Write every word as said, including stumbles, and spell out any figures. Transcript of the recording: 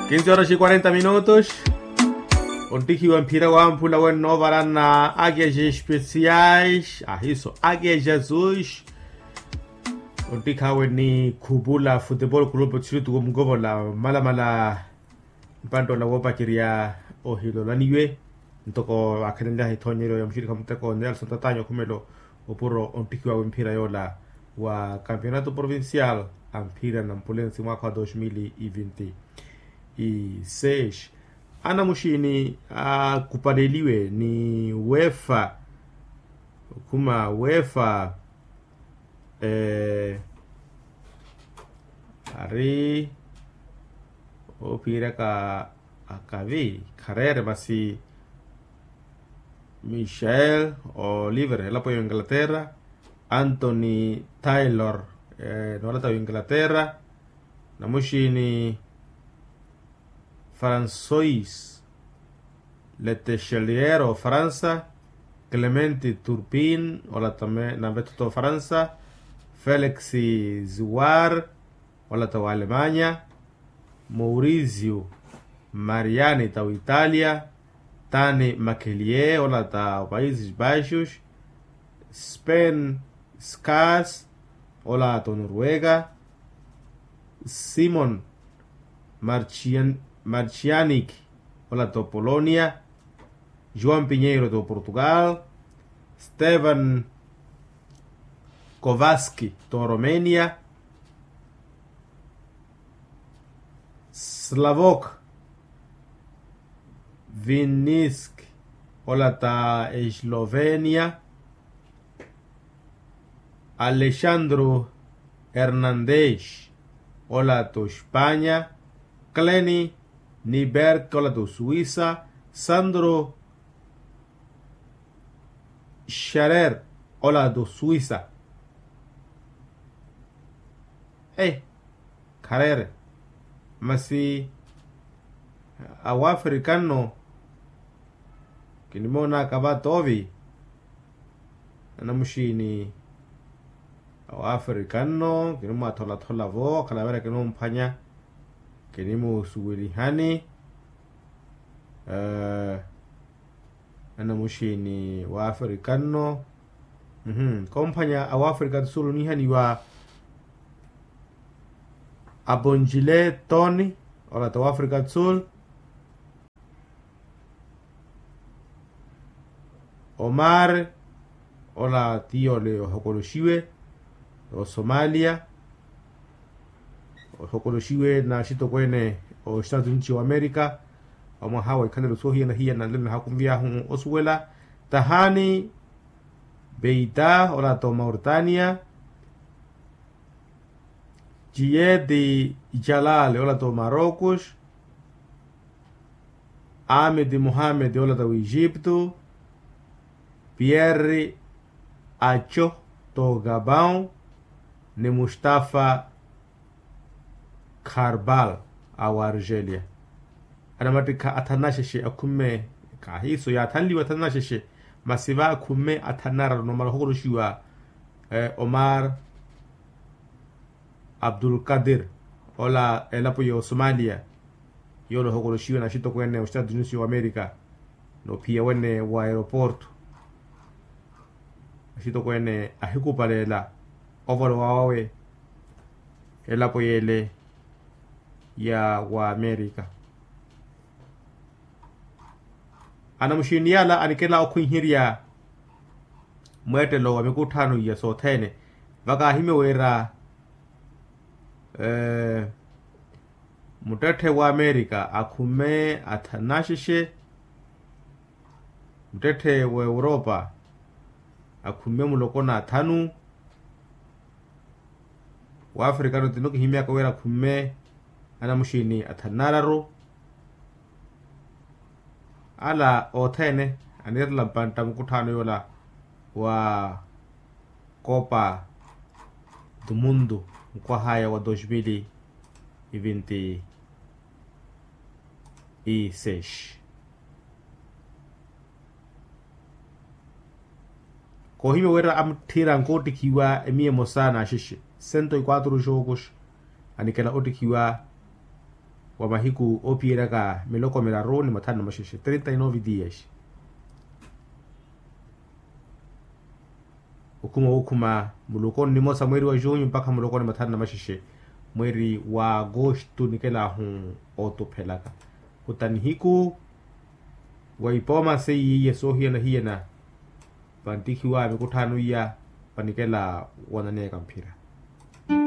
Kinsi horas e quarenta minutos. Onttihiwa mphira wamphula wenno ovarana akeja especiais ahiso akeja sus. Onttikhawe ni khupula futebol kulupu txirituku mukovola malamala. Mpanttoola woopacerya ohilolaniwe ntoko akhenenlyaha ithonyeryo ya muxirikha muteko nelson tatanyo khumelo. Opuro ontthikiwawe mphira yoola wa kampionato provincial a mphira na mpulensi mwaakha wa dos mil e vinti e seis. Anamuxini akupaleliwe ni wefa okhuma wefa ari ophiiraka akavi khareere masi michael oliver elapo ya inglaterra, anthony taylor noolata wa inglaterra, namuxini francois letechelier ofaransa, clemente turpin ola tame nanvethuta ofaransa, felix ziwar ola ta wa alemanya, maurizio mariani ta wa italia, tani makelie ola ta wa paises baixos, spen skas ola ta wa noruega, simon marchianik ola ta wa polonia, joan pinheiro ta wa portugal, stevan kovaski ta wa romenia, slavok vinnisk ola ta eslovenia, alexandro hernandez ola ta wa espanya, kleni niberk ola ta wa suwisa, sandro xarer ola ta wa suwisa. Khareere masi awaafrika nno kinimoonaka va toovi. Anamuxiini awaafrika nno kinimwatholathola vo akhala avera kinimumphwanya kinimusuwelihani. Anamuxiini waafrika nno. Komphwanya awaafrika do sul onihaniwa aponjile toni ola ta waafrika do sul, omar ola tiyoole ohokoloxiwe osomalia, ohokoloxiwe na axitokweene oxitatunci wa amerika. Omwaha wa ikhalelo soohiyana-hiyana nlelo nahakunvy'ahu osuwela, tahani beita ola ta omauritania, ciyeti jalal ola ta omarocos, amedi mohamed ola ta w'egipto, pierre aco ta ogabao, ni mustafa kharbal a wargelia. Anamattikha athanu naxexe akhumme, khahiiso yaathanliwa athanu naxexe, masi va akhumme athanu nararu nomala ohokoloxiwa omar abdulkadir ola elapo ya osomalia, yoola ohokoloxiwe na axitokweene oxitatunisi wa amerika, noophiya wene wa aeroporto. Axitokweene ahikupalela ovolowa wawe elapo yeele ya wa amerika. Anamuxiini yala anikela okhwiherya mweettelo wa mikutthano iya sothene, vakaahimya wira muttetthe wa amerika akhumme athanu naxexe, muttetthe wa europa akhumme muloko na athanu, wa afrikano tino kihimyaka wira akhumme anamuxiini athanu nararu. Ala othene anirela mpantta mukutthano yola wa copa do mundo, mukwaha aya wa dos mil e vinti e seis. Koohimya wira amutthira nkoottikhiwa emiya emosa na axexe cento e quatro jogos, anikela ottikhiwa wa mahiku oophiyeraka miloko miraru ni mathanu na maxexe trinta y nove dias. Okhuma wookhuma muloko ni nimosa mweeri wa junho mpakha muloko ni mathanu na maxexe mweeri wa agosto nikelahu ootuphelaka. Khuta nihiku wa ipooma seiye soohiyana-hiyana vanttihiwa mikutthano iya vanikela wonaneyaka mphira.